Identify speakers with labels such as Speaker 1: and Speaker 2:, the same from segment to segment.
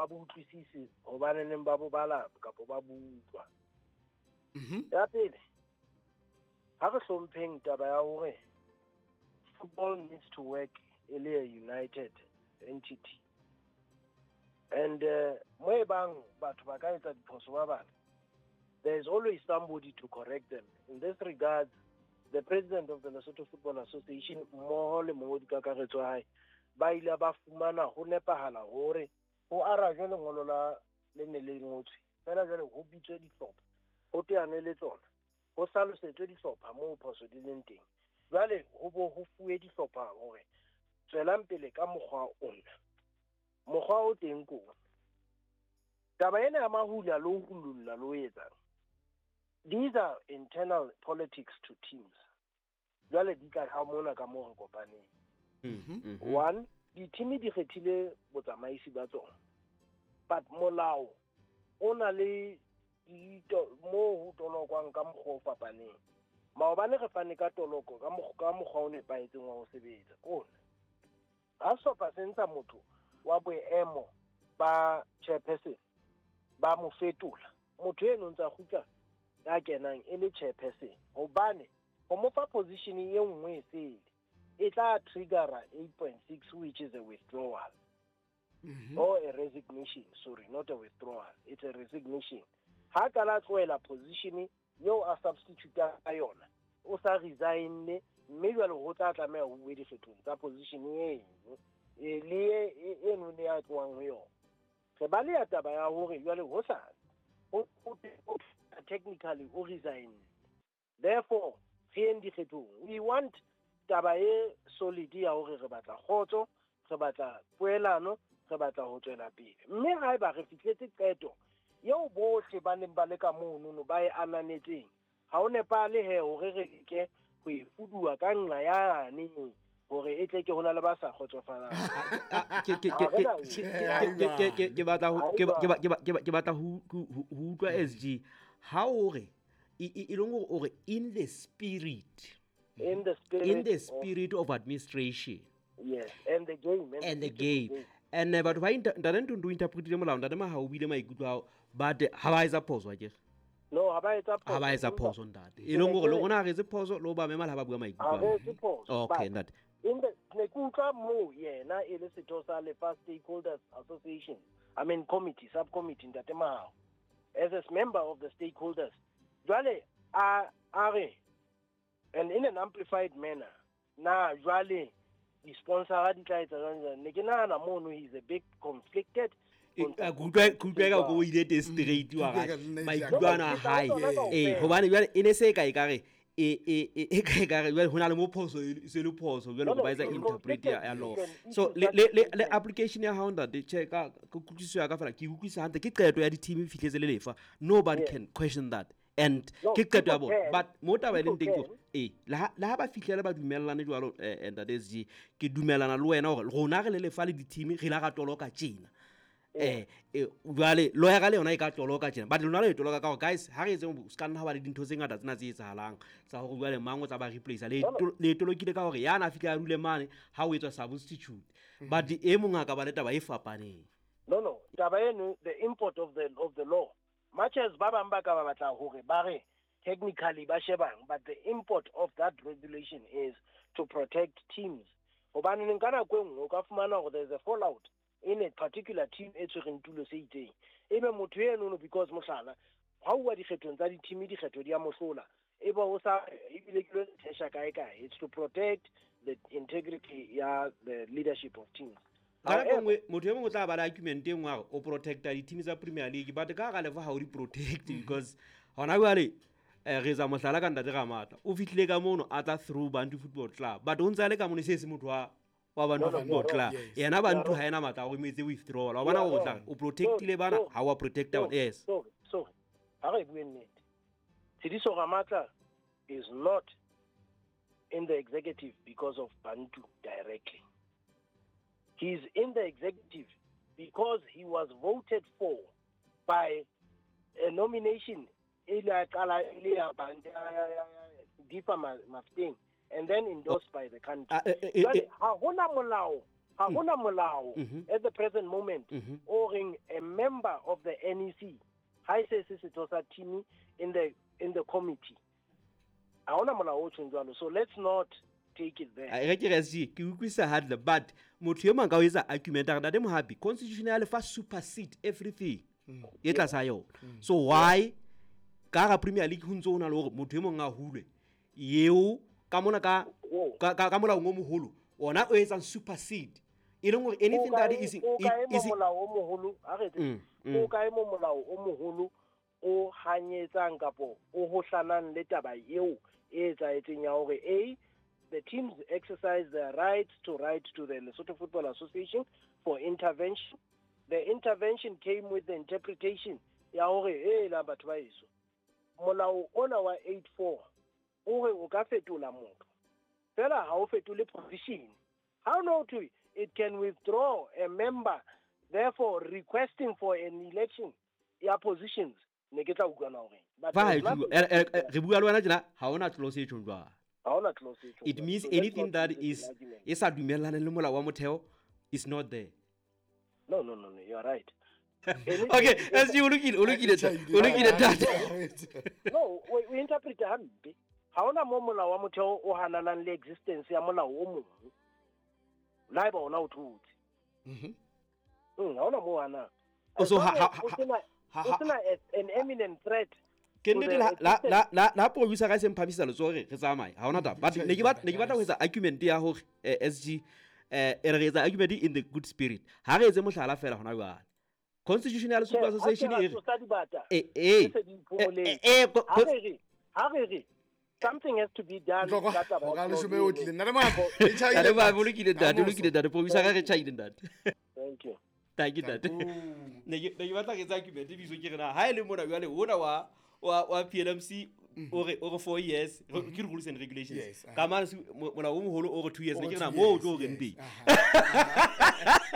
Speaker 1: Ba bo utlwisise hobaneneng ba bo bala kapa ba bo utlwa. Ya pele, ha re hlompheng taba ya hore football needs to work e le a united entity. And mo e bang batho ba ka etsa diphoso ba bang, there is always somebody to correct them. In this regard, the president of the Lesotho Football Association mmoho le mongodi kakaretso wa hae ba ile ba fumana ho nepahala hore ho arajwe lengolo la le ne le ngotswe fela jwale ho bitswe dihlopha, ho teanwe le tsona, ho hlalosetswe dihlopha moo phoso di leng teng. Jwale ho bo ho fuwe dihlopha hore tswelang pele ka mokgwa ona, mokgwa o teng ko ona. Taba ena ya mahula le ho hululla le ho etsang, these are internal politics to teams. Jwale di tla ka mona ka moo re kopaneng. One, di-team di kgethile botsamaisi ba tsona, but molao o na le moo ho tolokwang ka mokgwa o fapaneng. Maobane re fane ka toloko ka mokgwa o nepahetseng wa ho sebetsa. Kona ha sehlopha se ntsha motho wa boemo ba chairperson, ba mo fetola, motho eno ntsa kgutla ya kenang e le chairperson, hobane ho mo fa position e nngwe e sele e tla triggera 8.6, which is a withdrawal or a resignation. Sorry, not a withdrawal, it's a resignation. Ha ka la tlohela position eo a substitute ka yona, o sa resigne, mme jwale ho tla tlameha ho bue dikgethong tsa position eno le eno ne ya tlohang ho yona. Re baleha taba ya hore jwale ho sa ho technically o resign, therefore re yeng dikgethong. We want taba e solid ya hore re batla kgotso, re batla poelano, re batla ho tswela pele. Mme haeba re fihletse qeto eo bohle ba neng ba le ka monono ba e ananetseng, ha o nepahale he hore re leke ho e fuduwa ka nqa yane hore e tle ke hona le ba sa kgotsofalang.
Speaker 2: Ke batla ho utlwa SG ha o re e leng hore o re in the spirit,
Speaker 1: in the spirit,
Speaker 2: in the spirit of administration,
Speaker 1: yes, and the game,
Speaker 2: and the game. And batho ba ntate Ntuntu interpretile molao, ntate Mahao o buile maikutlo ao, but ha ba etsa phoso akere?
Speaker 1: No, ha ba etsa phoso.
Speaker 2: Ha ba etsa phoso ntate. E leng hore le rona ha re etse phoso, le ho ba mema le ha ba bua maikutlo
Speaker 1: ao. Ha re etse phoso.
Speaker 2: Okay, ntate.
Speaker 1: In the ne ke utlwa moo yena e le setho sa Lefa Stakeholders Association, I mean committee, subcommittee, ntate Mahao, as a member of the stakeholders. Jwale a re, and in an amplified manner, na jwale di-sponsor di tla etsa jwang jwang. Ne ke nahana mono he's a bit conflicted.
Speaker 2: Ke utlwa ka o ile teng straight wa hae, maikutlo ana a hae. Hobane jwale e ne se ka ekare e ka ekare jwale ho na le mo phoso se le phoso jwale ba etsa interpret ya law. So le application ya hao ntate, che ka kutlwisiso ya ka fela ke utlwisa hantle, ke qeto ya di-team e fihletse le lefa. Nobody can question that. And ke qeto ya bona. But mo taba e leng teng ke le ha ba fihlele ba dumellane jwalo, ntate SG, ke dumellana le wena hore rona re le lefa le di-team re la ra toloka tjena. Jwale lawyer le yona e ka toloka tjena, but lona le toloka ka hore guys ha re etseng se ka nna ha ba le dintho tse ngata tsena tse etsahalang tsa hore jwale mang o tla ba replace. Le tolokile ka hore yana fihla a dule mane ha o etswa substitute, but e mong a ka ba le taba e fapaneng.
Speaker 1: No, taba eno, the import of the law, much as ba bang ba ka ba batla hore ba re technically ba shebang, but the import of that regulation is to protect teams. Hobane nka nako e nngwe o ka fumana hore there's a fallout in a particular team e tshwereng tulo se itseng, ebe motho eno because mohlala ha o wa dikgethong tsa di-team, dikgetho di a mohlola, ebe o sa ebile ke lo thesha kae kae. It's to protect the integrity ya the leadership of teams.
Speaker 2: Ka nako nngwe motho e mongwe o tla ba le argument e nngwe hore o protecta di-team tsa Premier League, but ka hara lefa ha o di protect because hona jwale re etsa mohlala ka ntate Ramatla, o fihlile ka mono a tla through Bantu Football Club, but o ntse a le ka mono se se motho wa Bantu Football Club. Yena Bantu ha ena matla a hore o etse withdrawal. Wa bona hore o tla o protectile bana, ha wa protecta bona. Yes.
Speaker 1: Sorry. Ha re bue nnete. Tshidiso Ramatla is not in the executive because of Bantu directly. He's in the executive because he was voted for by a nomination and then endorsed by the country. Ha hona molao, Ha hona molao at the present moment o reng a member of the NEC ha e se se setho sa team in the committee. Ha hona molao o tjhong jwalo. So let's not take it there.
Speaker 2: Re ke re se ke utlwisa hantle, but motho e mang ka o etsa argument a re ntate Mohapi constitution ya lefa supersede everything e tlasa yona. So why ka ga Premier League ho ntso ho na le hore motho e mong a hulwe eo ka mona ka ka molao o moholo ona o etsang supersede e leng hore anything that is
Speaker 1: is molao o moholo a re o kae mo molao o moholo o hanyetsang kapo o hohlanang le taba eo e etsahetseng ya hore a the teams exercise their rights to write to the Lesotho Football Association for intervention. The intervention came with the interpretation ya hore e la batho ba eso molao ona wa 84 o re o ka fetola motho fela ha o fetole position. How no to it can withdraw a member, therefore requesting for an election ya positions ne ke tla utlwana hore
Speaker 2: re bua le wena tjena ha hona clause e tjhong jwalo.
Speaker 1: Ha hona clause e tjhong.
Speaker 2: It means anything that is e sa dumellane le molao wa motheo is not there.
Speaker 1: No, you are right.
Speaker 2: Okay, as you lokile ntate.
Speaker 1: No, we interpret hampe. Ha hona mo molao wa motheo o hananang le existence ya molao o mong. La eba ona o thotse. Ha hona mo hana.
Speaker 2: So ha
Speaker 1: an eminent threat.
Speaker 2: Ke nnete la producer ga se mphamisa letsoho re tsamaye ha hona taba. But ne ke batla ho etsa argument ya hore SG re etsa argument in the good spirit. Ha re etse mohlala fela hona jwale. Constitution ya Lesotho Association e re
Speaker 1: ha re something has to be done.
Speaker 3: Ka taba ka leshome o tlile nna le mako
Speaker 2: e tjhaile ba bolokile ntate, lokile ntate, producer ga re tjhaile ntate.
Speaker 1: Thank you.
Speaker 2: Thank you ntate. Ne ke batla ke etsa argument biso ke re na ha ile mona jwale ona wa PLMC o re 4 years ke rules and regulations ka mane molao o moholo o re 2 years ne ke re na mo o tlo reng teng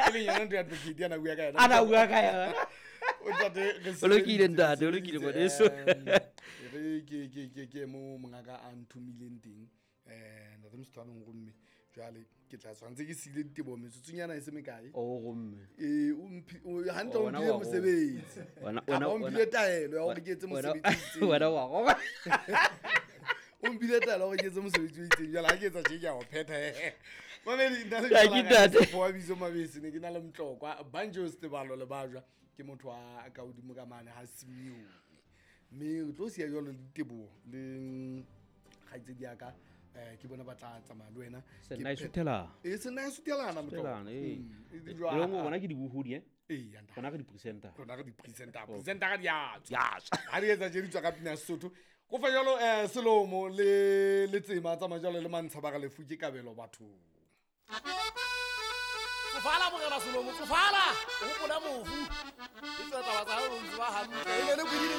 Speaker 3: e leng yona ntho ya advocate yana bua ka yona
Speaker 2: ana bua ka yona o lokile ntate, o lokile ngwaneso.
Speaker 3: Re ke mo mongaka a nthomileng teng ntate Mosotho gomme jwale ke tla tshwantse ke sile ditebo metsotsonyana e se mekae.
Speaker 2: O gomme
Speaker 3: o hantle o mphile mosebetsi wena o mphile taelo ya hore ke etse mosebetsi
Speaker 2: wena wa go
Speaker 3: o mphile taelo hore ke etse mosebetsi o itseng jwale ha ke etsa tje ke a o phetha. Mamedi nna le wa bitso Mabese ne ke na le Mtlokwa Banjo Setebalo le bajwa ke motho a ka hodimo ka mane ha Simeone mme o tlo siya jwalo le ditebo le kgaitsedi ya ka ke bona ba tla tsamaya le wena
Speaker 2: se nna e suthela
Speaker 3: e se nna e suthelana
Speaker 2: motho e le ngwe bona ke dibohodi bona re di-presenter
Speaker 3: rona re di-presenter presenter ka diatswa ha re etsa tje di tswa ka pina Sesotho go fa jalo Selomo le Letsema tsamaya jalo le Mantsha ba ga lefu ke kabelo bathong.
Speaker 4: Tsofala morena Selomo, tsofala o hopola mofu e tswa taba tsa hao o ntse ba hantle e ne le kwedile.